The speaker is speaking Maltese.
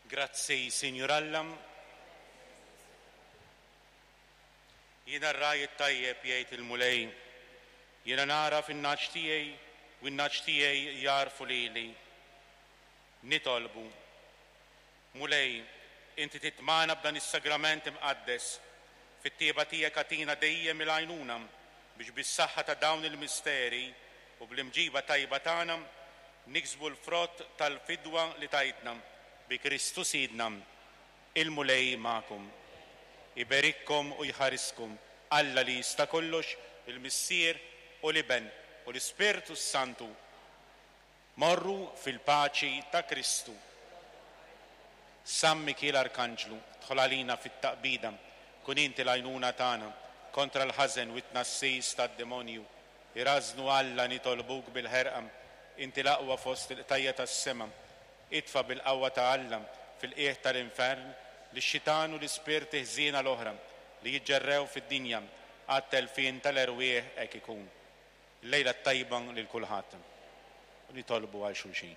Grazzi, Sinjur Alla. Jiena r-ragħaj it-tajjeb, jgħid il-Mulej. Jiena nagħraf in-nagħaġ tiegħi u n-nagħaġ tiegħi jagħrfu lili. Nitolbu. Mulej, inti titmagħna b'dan is-sagrament imqaddes. Fit-tjieba tiegħek agħtina dejjem il-għajnuna biex bis-saħħa ta' dawn il-misteri u bl-imġiba tajba tagħna niksbu l-frott tal-fidwa li tajtna bi Kristu Sidna. Il-Mulej magħkom. Iberikkom u jħariskom Alla li jista' kollox, il-Missier u l-Iben u l-Ispirtu s-Santu. Morru fil-paċi ta' Kristu. San Mikiel Arkanġlu, dħol għalina fit-taqbida, kun inti l-għajnuna tagħna kontra l-ħażen u t-tnassis tad-demonju. Irażżnu Alla nitolbuk bil-ħerqa, inti l-aqwa fost il-qtajja' tas-sema. Itfa' bil-qawwa ta' Alla fil-qiegħ tal-infern lix-xitan u l-ispirti ħżiena l-oħra li jiġġerrew fid-dinja għat-telfien tal-erwieħ hekk ikun. Il-lejla t-tajba lil kulħadd u nitolbu għal xulxin.